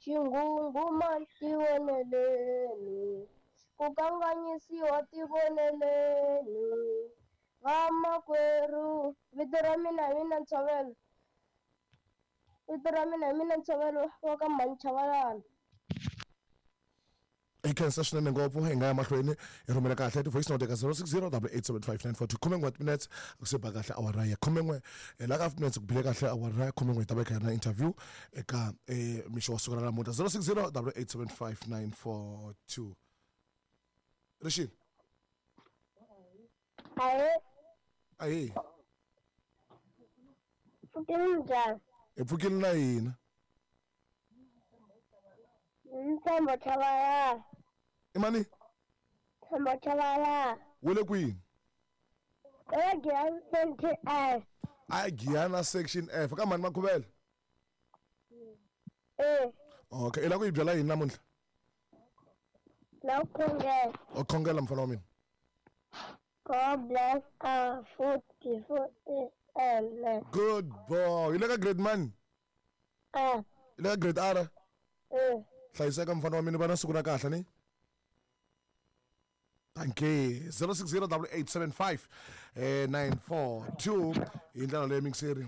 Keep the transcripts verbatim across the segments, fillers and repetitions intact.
Xinghunghumani tivoneleni, ku kanganyisiwa tivoneleni. Vamakwerhu, vito ra mina hi mina Ntshovelo. Vito ra mina hi mina Ntshovelo wa ka Mhani Chavalala. Hi khensa swinene ngopfu. Hi nga ya mahlweni hi rhumela kahle ti-voice note eka zero six zero double eight seven five nine four two. Khumen'we wa timinetse ku se ba kahle awara ya khumen'we. La ka minutes ku bile kahle awara ya khumen'we hi ta va hi kha hi ri na interview eka mixo wa siku ra namuntlha. zero six zero double eight seven five nine four two. Rixile. Ahee. Ahee. Pfukile njhani? Hi pfukile na hina. Ntshembo Chavalala. I mani? Ntshembo Chavalala. Wu le kwini? E Giyani Section F. A Giyani Section F. Ka mhani Makhuvela? E. Okay, i lava ku yi byela yini namuntlha? Na ku khongela. U khongela mfana wa mina. God bless our food before it. Amen. Good boy. I le ka grade mani? A. I le ka grade R? E. Hlayiseka mfana wa mina, va na siku ra kahle ni. Thank you. zero six zero double eight seven five nine four two. Hi ndlela leyi mixeri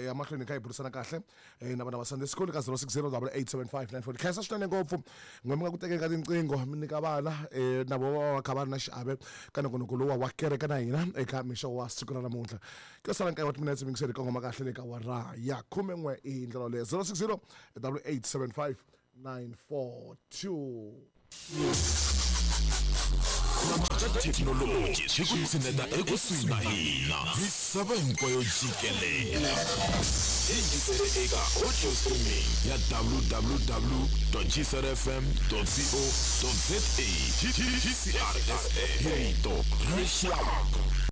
ya mahlweni kha hi burisana kahle na vana va Sunday school ka zero six zero double eight seven five nine four. Khensa swinene ngopfu n'we mi nga ku tekeni ka tinqingho mi nyika vana na vo va kha va ri na xiave ka nongonoko lowu wa kereke na hina eka mixo wa siku ra namuntlha. Ku sala nkaye wa timinetse mixeri kongoma kahle le ka awara ya khumen'we hi ndlela leyi. zero six zero double eight seven five nine four two. Thekinoloji swi ku tshineta ekusuhi na hina misava hinkwayo jikelele. Yingisele eka audio streaming ya w w w dot g c r f m dot co dot z a. G C R F M, rito ra rixaka.